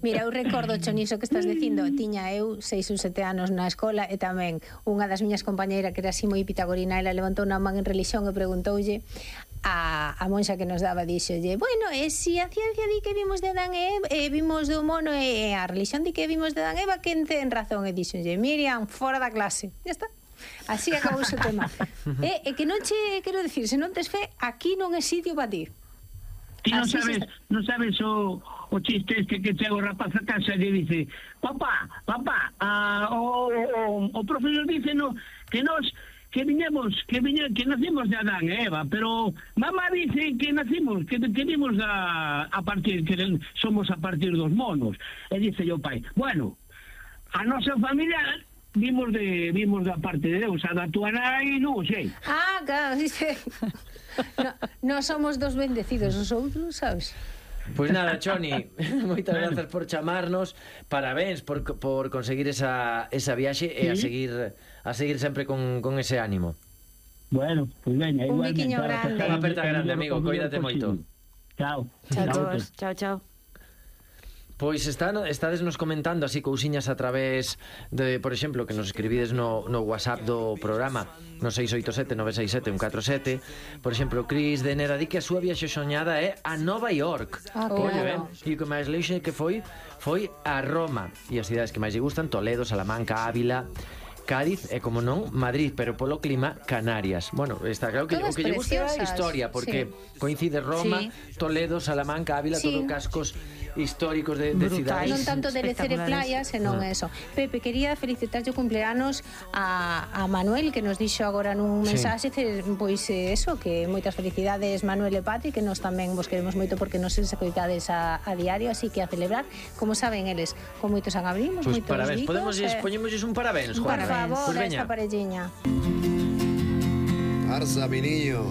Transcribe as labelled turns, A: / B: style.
A: Mira, eu recordo, Choniso, que estás dicindo, tiña eu 6 ou 7 anos na escola e tamén unha das miñas compañeiras que era así moi pitagorina, ela levantou unha man en religión e preguntoulle a monxa que nos daba, dixolle, bueno, e se a ciencia di que vimos de Adán e Eva, vimos do mono e a religión di que vimos de Adán e Eva, quen ten razón? E dixolle, Miriam, fora da clase. Ya está. Así acabou o tema. E que non che, quero dicir, se non tes fe, aquí non é sitio para ti.
B: Ti non sabes o chiste este que chega o rapaz a casa e dice, papá, o profesor dice que nacimos de Adán e Eva, pero mamá dice que nacimos, que vimos a partir, que somos a partir dos monos. E dice o pai, bueno, a nosa familia vimos da parte de Deus, a da tua nai non sei.
A: Ah, claro, dice... No somos dos bendecidos, os outros, sabes?
C: Pois nada, Choni, moitas grazas por chamarnos. Parabéns por conseguir esa viaxe e a seguir sempre con ese ánimo.
B: Bueno, pois veña,
A: un biquiño grande.
C: Unha aperta grande, amigo, coídate moito.
B: Chao.
D: Chao.
C: Pois estades nos comentando así cousiñas a través de, por exemplo, que nos escribides no WhatsApp do programa, no 687-967-147. Por exemplo, Cris de Nera di que a súa viaxe soñada é a Nova York.
A: Claro.
C: E o que máis leixe que foi a Roma. E as cidades que máis lle gustan, Toledo, Salamanca, Ávila, Cádiz e, como non, Madrid, pero polo clima, Canarias. Bueno, está claro que o que lle gusta é a historia, porque coincide Roma, Toledo, Salamanca, Ávila, todo cascos históricos de cidades.
A: Non tanto de lecer e playas, senón eso. Pepe, quería felicitar o cumpleanos a Manuel, que nos dixo agora nun mensaxe, pois eso, que moitas felicidades Manuel e Patri, que nos tamén vos queremos moito porque nos escoitades a diario, así que a celebrar, como saben eles, con moitos agabrimos,
C: moitos
A: parabéns,
C: poñémosles un parabéns, Juan.
A: Por favor, a esta parelliña.
E: Arza, mi niño.